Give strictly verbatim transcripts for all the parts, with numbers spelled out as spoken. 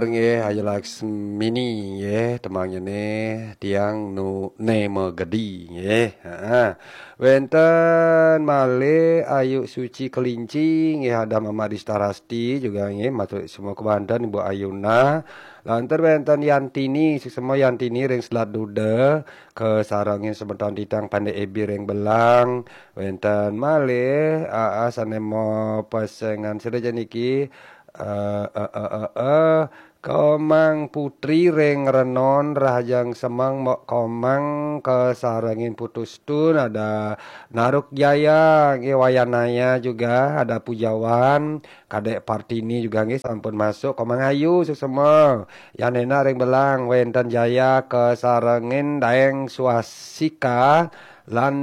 Nggih, Ayu Laksmini nggih, temangnye ne tiang nu ne megedi nggih. Heeh. Wenten malih Ayu Suci Kelinci nggih, ada Mama Dista Rasti juga nggih, matur semua kebanten Ibu Ayuna. Lantur wenten Yantini, suksma Yantini ring Selat Duda, kasarengin semeton titiang Pande Ebi ring Belang. Wenten malih aa sane mapesengan sira niki, eh, eh, eh, eh, eh, Komang Putri ring Renon, Rahajeng Semeng, Mok Komang, kasarengin Putu Stun, ada Naruk Jaya, nggih, Wayanaya juga, ada Pujawan, Kadek Partini juga nggih sampun masuk, Komang Ayu suksma. Yan enak ring Belang, wenten Jaya, kasarengin Daeng Swastika, lan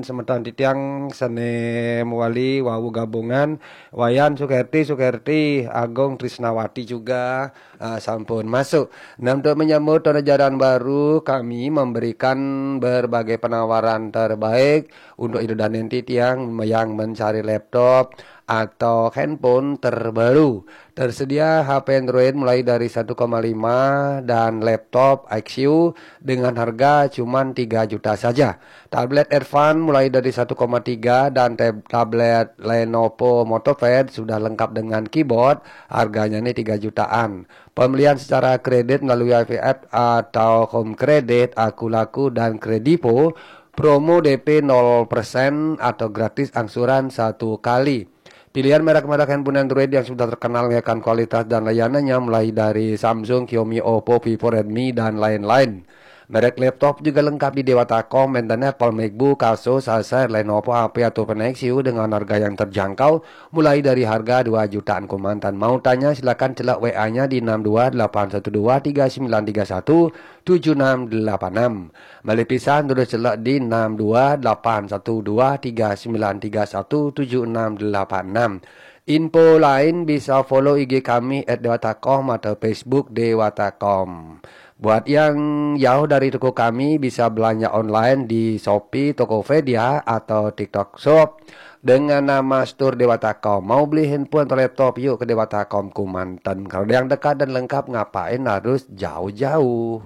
semeton titiang sane mewali wau gabungan, Wayan Sukerti, Sukerti, Agung Trisnawati juga, ah, sampun masuk. Nah, untuk menyambut tahun ajaran baru, kami memberikan berbagai penawaran terbaik untuk Ibu Danen titiang yang mencari laptop atau handphone terbaru. Tersedia H P Android mulai dari satu koma lima dan laptop I Q dengan harga cuman tiga juta saja. Tablet Advan mulai dari satu koma tiga dan tab- tablet Lenovo MotoPad sudah lengkap dengan keyboard, harganya nih tiga jutaan. Pembelian secara kredit melalui I V F atau Home Credit, Akulaku, dan Kredivo, promo D P nol persen atau gratis angsuran satu kali. Pilihan merek-merek handphone Android yang sudah terkenal akan kualitas dan layanannya, mulai dari Samsung, Xiaomi, Oppo, Vivo, Redmi, dan lain-lain. Merek laptop juga lengkap di Dewata Com, enten Apple MacBook, Asus, Acer, Lenovo, H P, atau Nexus dengan harga yang terjangkau, mulai dari harga dua jutaan kemanten. Mau tanya, silakan celak W A-nya di enam dua delapan satu dua tiga sembilan tiga satu tujuh enam delapan enam. Malih pisan, terus celak di enam dua delapan satu dua tiga sembilan tiga satu tujuh enam delapan enam. Info lain bisa follow I G kami at dewata com atau Facebook Dewata Com. Buat yang jauh dari toko kami, bisa belanja online di Shopee, Tokopedia, atau TikTok Shop dengan nama Store Dewata Com. Mau beli handphone atau laptop, yuk ke Dewata Com kemanten. Kalau ada yang dekat dan lengkap, ngapain harus jauh-jauh?